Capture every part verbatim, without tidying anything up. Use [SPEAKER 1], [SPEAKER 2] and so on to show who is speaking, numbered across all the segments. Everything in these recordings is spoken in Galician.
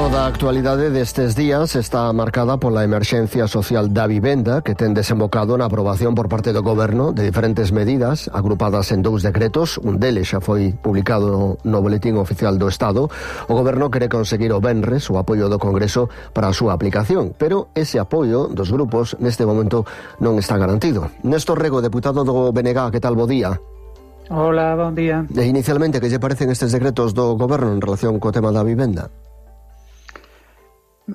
[SPEAKER 1] Toda a actualidade destes días está marcada pola emerxencia social da vivenda que ten desembocado na aprobación por parte do Goberno de diferentes medidas agrupadas en dous decretos. Un deles xa foi publicado no Boletín Oficial do Estado. O Goberno quere conseguir o venres o apoio do Congreso para a súa aplicación, pero ese apoio dos grupos neste momento non está garantido. Néstor Rego, deputado do B N G, que tal, bo día?
[SPEAKER 2] Hola, bon día.
[SPEAKER 1] E inicialmente, que lle parecen estes decretos do Goberno en relación co tema da vivenda?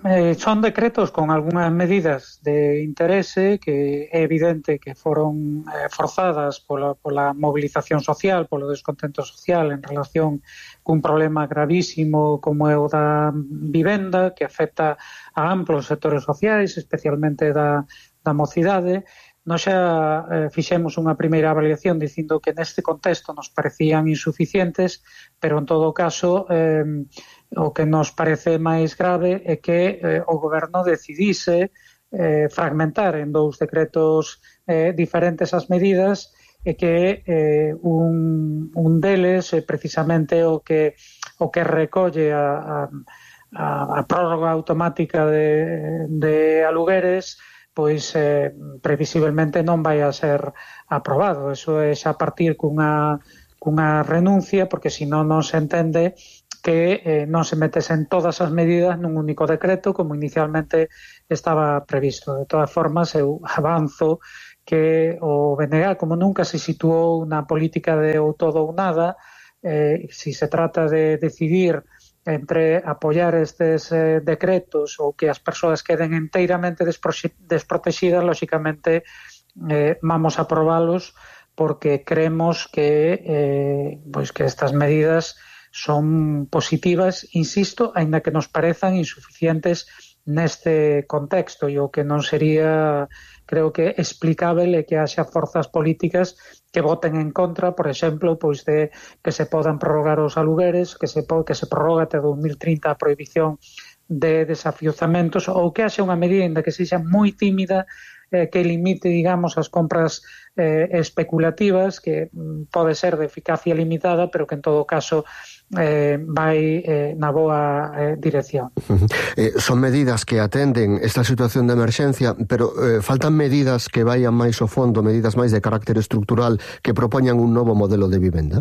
[SPEAKER 2] Eh, son decretos con algunhas medidas de interese que é evidente que foron eh, forzadas pola, pola movilización social, polo descontento social en relación cun problema gravísimo como é o da vivenda, que afecta a amplos sectores sociais, especialmente da, da mocidade. Nos xa eh, fixemos unha primeira avaliación dicindo que neste contexto nos parecían insuficientes, pero en todo caso eh, o que nos parece máis grave é que eh, o Goberno decidise eh, fragmentar en dous decretos eh, diferentes as medidas e que eh, un, un deles é precisamente o que o que recolle a, a, a prórroga automática de, de alugueres, pois eh, previsiblemente non vai a ser aprobado. Eso é xa partir cunha, cunha renuncia, porque senón non se entende que eh, non se metesen todas as medidas nun único decreto como inicialmente estaba previsto. De todas formas, eu avanzo que o B N G, como nunca se situou na política de ou todo ou nada, eh, si se trata de decidir entre apoiar estes eh, decretos ou que as persoas queden enteiramente desprotegidas, lóxicamente eh, vamos a aprobalos porque creemos que, eh, pois que estas medidas son positivas, insisto, aínda que nos parezan insuficientes neste contexto, e o que non sería, creo que, explicável é que haxa forzas políticas que voten en contra, por exemplo, pois de que se podan prorrogar os alugueres, que se, que se prorroga até dos mil trinta a prohibición de desafiuzamentos, ou que haxa unha medida, ainda que sexa moi tímida, eh, que limite, digamos, as compras eh, especulativas, que mm, pode ser de eficacia limitada, pero que en todo caso eh, vai eh, na boa eh, dirección.
[SPEAKER 1] Eh, son medidas que atenden esta situación de emerxencia, pero eh, faltan medidas que vayan máis ao fondo, medidas máis de carácter estructural que propoñan un novo modelo de vivenda?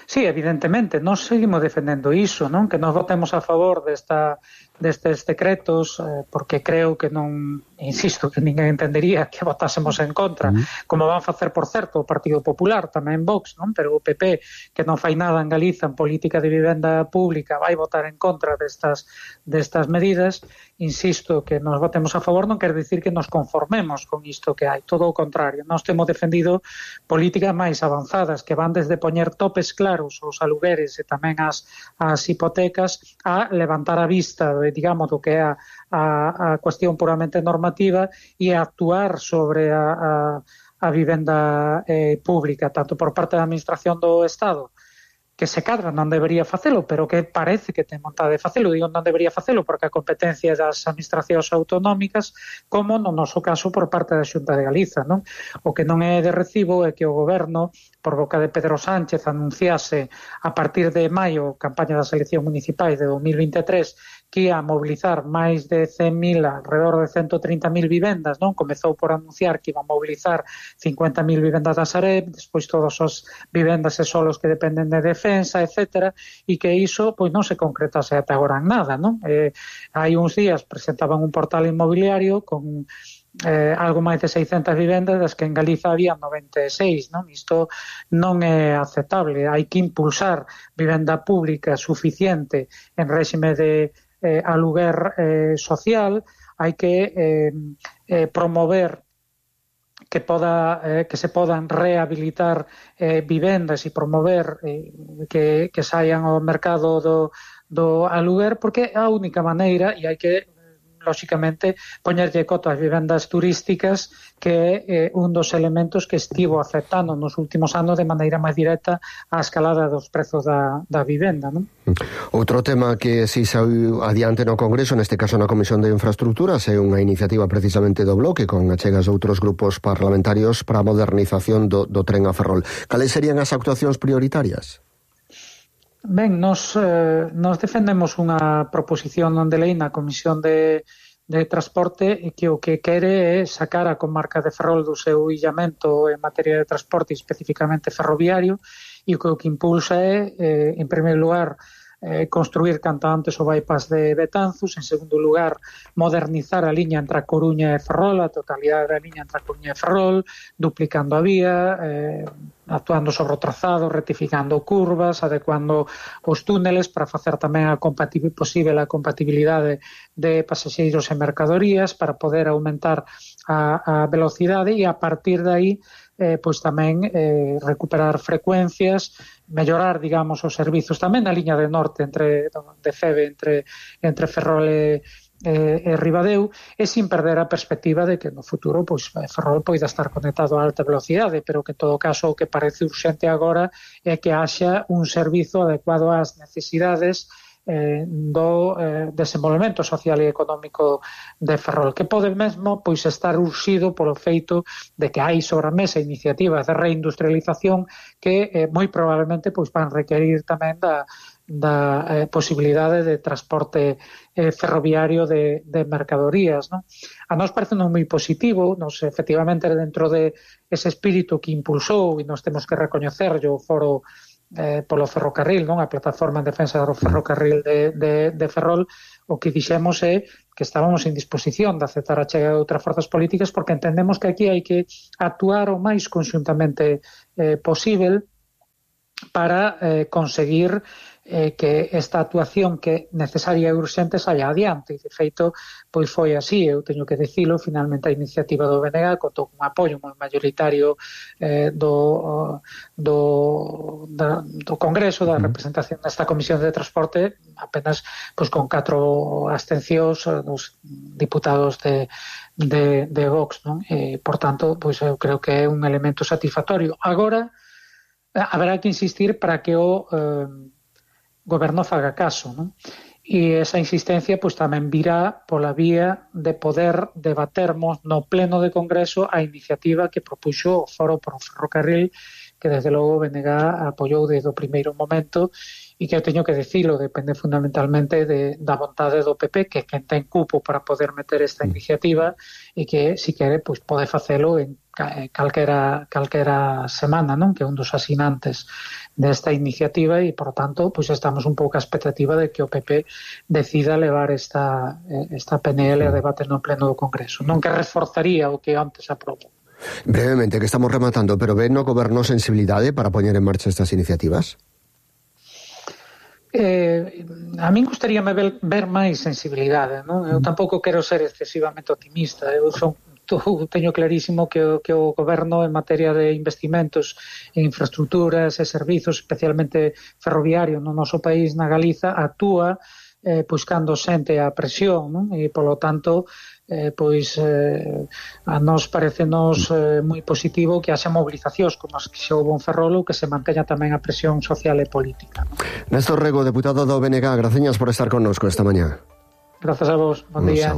[SPEAKER 2] Sí, evidentemente, nós seguimos defendendo iso, non? Que nos votemos a favor desta, destes decretos, eh, porque creo que non, insisto, que ninguén entendería que votásemos en contra, mm. como van facer, por certo, o Partido Popular, tamén Vox, non? Pero o P P, que non fai nada en Galiza en política de vivenda pública, vai votar en contra destas, destas medidas. Insisto, que nos votemos a favor non quer dicir que nos conformemos con isto que hai, todo o contrario. Nós temos defendido políticas máis avanzadas que van desde poñer topes claros aos alugueres e tamén as, as hipotecas a levantar a vista de, digamos, do que é a, a, a cuestión puramente normativa e a actuar sobre a, a, a vivenda eh, pública, tanto por parte da Administración do Estado, que se cadra non debería facelo, pero que parece que ten vontade de facelo. Digo non debería facelo porque a competencia das administracións autonómicas, como no noso caso por parte da Xunta de Galiza, non? O que non é de recibo é que o Goberno, por boca de Pedro Sánchez, anunciase a partir de maio, campaña das eleccións municipais de dos mil vinte e tres, que ia a mobilizar máis de cen mil, alrededor de ciento trinta mil vivendas, non? Comezou por anunciar que iba a mobilizar cincuenta mil vivendas da Sareb, despois todas as vivendas e solos que dependen de defensa, etcétera, e que iso pois non se concretase ata agora en nada, non? Eh, hai uns días presentaban un portal inmobiliario con eh, algo máis de seiscentas vivendas, das que en Galiza había noventa e seis, non? Isto non é aceptable. Hai que impulsar vivenda pública suficiente en réxime de eh, aluguer eh, social, hai que eh, eh, promover que poda eh, que se podan rehabilitar eh, vivendas e promover eh, que, que saian ao mercado do, do aluguer, porque é a única maneira, e hai que lóxicamente poñerlle coto ás vivendas turísticas, que é eh, un dos elementos que estivo afectando nos últimos anos de maneira máis directa a escalada dos prezos da, da vivenda, non?
[SPEAKER 1] Outro tema que si saiu adiante no Congreso, neste caso na Comisión de Infraestructuras, é unha iniciativa precisamente do Bloque con achegas de outros grupos parlamentarios para a modernización do, do tren a Ferrol. Cales serían as actuacións prioritarias?
[SPEAKER 2] Ben, nos, eh, nos defendemos unha proposición non de lei na Comisión de, de Transporte que o que quere é sacar a comarca de Ferrol do seu illamento en materia de transporte, especificamente ferroviario, e o que, o que impulsa é, eh, en primeiro lugar, eh, construir canto antes o bypass de Betanzos, en segundo lugar, modernizar a liña entre a Coruña e Ferrol, a totalidade da liña entre a Coruña e Ferrol, duplicando a vía, eh, actuando sobre o trazado, rectificando curvas, adecuando os túneles para facer tamén a compatibil, posible a compatibilidade de pasaxeiros e mercadorías, para poder aumentar a, a velocidade e a partir de aí eh, pois tamén eh, recuperar frecuencias, mellorar, digamos, os servizos tamén na liña de norte entre de Feve entre entre Ferrol e E, e Ribadeo, e sin perder a perspectiva de que no futuro pois Ferrol poida estar conectado a alta velocidade, pero que en todo caso o que parece urxente agora é que haxa un servizo adecuado ás necesidades eh, do eh, desenvolvemento social e económico de Ferrol, que pode mesmo pois estar urxido polo feito de que hai sobre a mesa iniciativas de reindustrialización que eh, moi probablemente pois van requerir tamén da da eh, posibilidade de transporte eh, ferroviario de, de mercadorías, ¿no? A nós parece non moi positivo, nos efectivamente dentro de ese espírito que impulsou, e nos temos que recoñecer o foro eh, polo ferrocarril, non, a plataforma en defensa do ferrocarril de, de, de Ferrol, o que dixemos é que estábamos en disposición de aceptar a chega de outras forzas políticas porque entendemos que aquí hai que actuar o máis conxuntamente eh, posible para eh, conseguir eh, que esta actuación que necesaria e urxente saia adiante. E, de feito, pois foi así, eu teño que dicilo, finalmente a iniciativa do B N G contou con apoio moi mayoritario eh, do, do, da, do Congreso, da representación desta Comisión de Transporte, apenas pois con catro abstencións dos diputados de, de, de Vox, non? E, por tanto, pois eu creo que é un elemento satisfactorio. Agora, haberá que insistir para que o eh, goberno faga caso, non? E esa insistencia pois tamén virá pola vía de poder debatermos no pleno de Congreso a iniciativa que propuxo o Foro por o Ferrocarril, que desde logo o B N G apoiou desde o primeiro momento e que eu teño que dicilo, depende fundamentalmente de, da vontade do P P, que é quen ten cupo para poder meter esta iniciativa e que, si quere, pois pode facelo en calquera, calquera semana, non? Que é un dos asinantes desta iniciativa e, por tanto, pois estamos un pouco a expectativa de que o P P decida levar esta, esta P N L a debate no pleno do Congreso, non que reforzaría o que antes aprobou.
[SPEAKER 1] Brevemente, que estamos rematando, pero ven no goberno sensibilidade para poñer en marcha estas iniciativas?
[SPEAKER 2] Eh, a min gustaríame ver, ver máis sensibilidade, non? Eu tampouco quero ser excesivamente optimista, eu son teño clarísimo que o, que o goberno en materia de investimentos en infraestructuras e servizos, especialmente ferroviario no noso país, na Galiza, actúa eh, pois cando sente a presión, non? E polo tanto eh, pois eh, a nós parecenos eh, moi positivo que haxa mobilizacións como as que se houve en Ferrol, que se manteña tamén a presión social e política, non?
[SPEAKER 1] Néstor Rego, deputado do B N G, graciñas por estar connosco esta mañá.
[SPEAKER 2] Gracias a vos, buen día.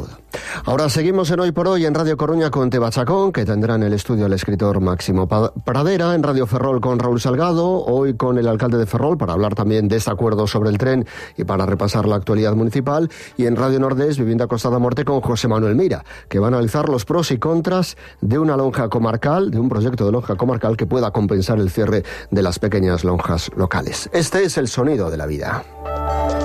[SPEAKER 1] Ahora seguimos en Hoy por Hoy en Radio Coruña con Teba Chacón, que tendrá en el estudio al escritor Máximo Pradera, en Radio Ferrol con Raúl Salgado, hoy con el alcalde de Ferrol para hablar también de este acuerdo sobre el tren y para repasar la actualidad municipal, y en Radio Nordés, Vivienda Costada Morte con José Manuel Mira, que va a analizar los pros y contras de una lonja comarcal, de un proyecto de lonja comarcal que pueda compensar el cierre de las pequeñas lonjas locales. Este es el sonido de la vida.